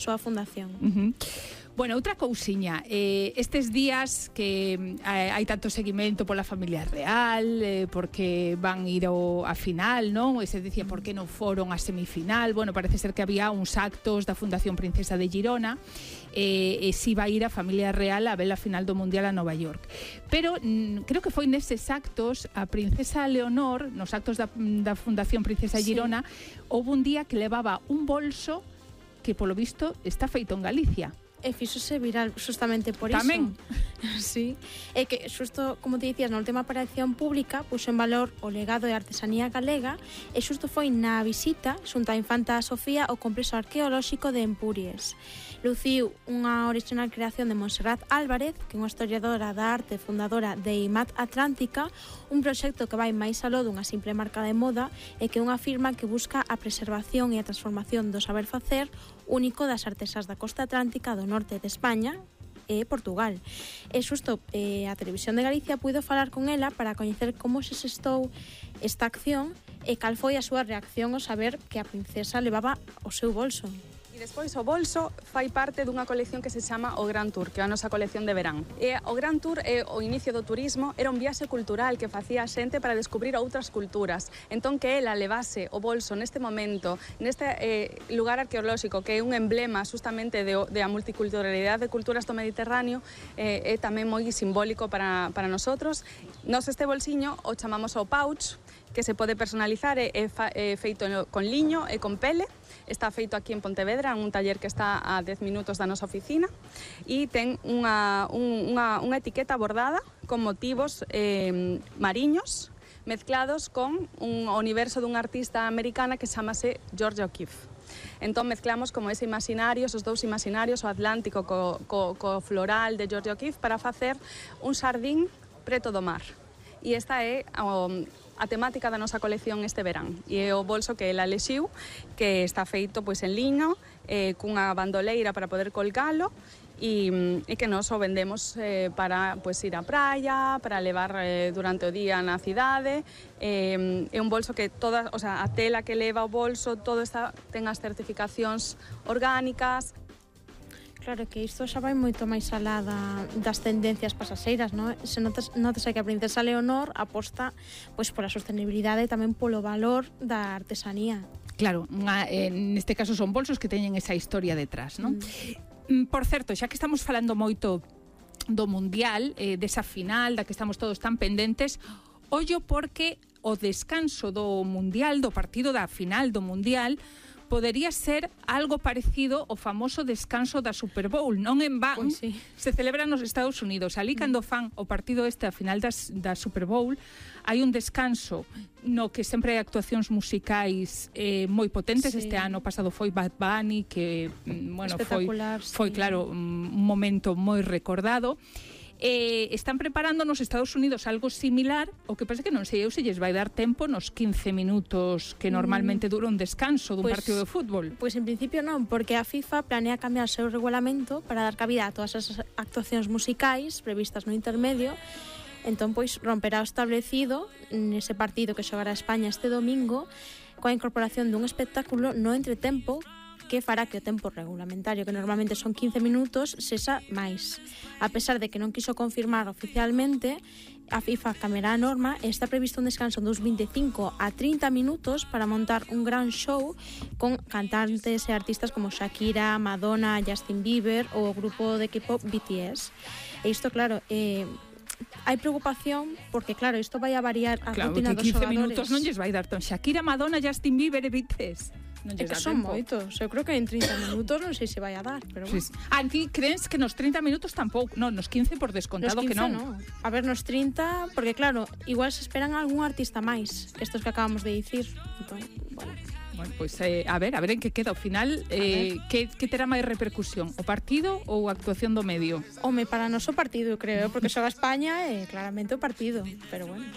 súa fundación. Bueno, outra cousiña, estes días que hai tanto seguimento pola familia real, porque van ir a final, non? E se dicía por que non foron a semifinal. Bueno, parece ser que había uns actos da Fundación Princesa de Girona, e si va ir a familia real a ver a final do Mundial a Nova York. Pero creo que foi neses actos a Princesa Leonor, nos actos da Fundación Princesa de Girona, houve un día que levaba un bolso que polo visto está feito en Galicia. E fíxose viral justamente por Tamén. iso. Sí. É que, xusto, como te dicías, na última aparición pública puxo en valor o legado e artesanía galega e xusto foi na visita xunto a Infanta Sofía ao complexo arqueolóxico de Empuries. Luciu unha original creación de Montserrat Álvarez, que é unha historiadora da arte fundadora de IMAT Atlántica, un proxecto que vai máis aló dunha simple marca de moda e que é unha firma que busca a preservación e a transformación do saber facer único das artesás da costa atlántica do norte de España e Portugal. E xusto a Televisión de Galicia puido falar con ela para coñecer como se xestou esta acción e cal foi a súa reacción ao saber que a princesa levaba o seu bolso. Despois o bolso fai parte dunha colección que se chama o Gran Tour, que é a nosa colección de verán. E o Gran Tour é o inicio do turismo, era un viaxe cultural que facía a xente para descubrir outras culturas. Entón que ela levase o bolso neste momento, neste lugar arqueolóxico, que é un emblema justamente de a multiculturalidade de culturas do Mediterráneo, é tamén moi simbólico para nosotros. Nos este bolsiño o chamamos o pouch, que se pode personalizar, é feito con liño e con pele. Está feito aquí en Pontevedra, en un taller que está a 10 minutos da nosa oficina, e ten unha etiqueta bordada con motivos mariños mezclados con un universo dunha artista americana que chamase Georgia O'Keeffe. Entón mezclamos como ese imaginario, esos dous imaginarios, o Atlántico co floral de Georgia O'Keeffe, para facer un xardín preto do mar. E esta é a temática da nosa colección este verán. E é o bolso que ela elixiu, que está feito pois en liño, cunha bandoleira para poder colgalo, e que nós o vendemos para pois ir á praia, para levar durante o día na cidade. É un bolso que toda, o sea, a tela que leva o bolso, todo ten as certificacións orgánicas. Claro que isto xa vai moito máis alá das tendencias pasaxeiras, non? Se notas que a princesa Leonor aposta pois pola sostenibilidade e tamén polo valor da artesanía. Claro, neste caso son bolsos que teñen esa historia detrás, non? Por certo, xa que estamos falando moito do Mundial, desa final, da que estamos todos tan pendentes, ollo porque o descanso do Mundial, do partido da final do Mundial, podería ser algo parecido ao famoso descanso da Super Bowl. Non en van, Pois sí. Se celebra nos Estados Unidos. Ali, cando fan o partido a final da Super Bowl, hai un descanso no que sempre hai actuacións musicais moi potentes. Sí. Este ano pasado foi Bad Bunny, que bueno, foi sí. claro, un momento moi recordado. Están preparando nos Estados Unidos algo similar, o que pasa que non sei eu se lles vai dar tempo nos 15 minutos que normalmente dura un descanso dun partido de fútbol. Pois en principio non, porque a FIFA planea cambiar o seu regulamento para dar cabida a todas as actuacións musicais previstas no intermedio. Entón, pois, romperá o establecido nese partido que xogará España este domingo, coa incorporación dun espectáculo no entretempo que fará que o tempo regulamentario, que normalmente son 15 minutos, sexa máis. A pesar de que non quiso confirmar oficialmente, a FIFA cambiará a norma e está previsto un descanso dos 25 a 30 minutos para montar un gran show con cantantes e artistas como Shakira, Madonna, Justin Bieber ou o grupo de K-pop BTS. E isto, claro, hai preocupación porque, claro, isto vai a variar a rutina dos xogadores. 15 minutos non lles vai dar ton Shakira, Madonna, Justin Bieber e BTS. É que son moitos. Eu creo que en 30 minutos non sei se vai a dar, pero bueno. Aquí crees que nos 30 minutos tampouco, non, nos 15 por descontado que non. A ver, nos 30, porque claro, igual se esperan algún artista máis, que estos que acabamos de dicir. Entón, bueno. Bueno, pois a ver en que queda ao final, que terá máis repercusión, o partido ou a actuación do medio? Home, para nós o partido, creo, porque xoga España e claramente o partido, pero bueno.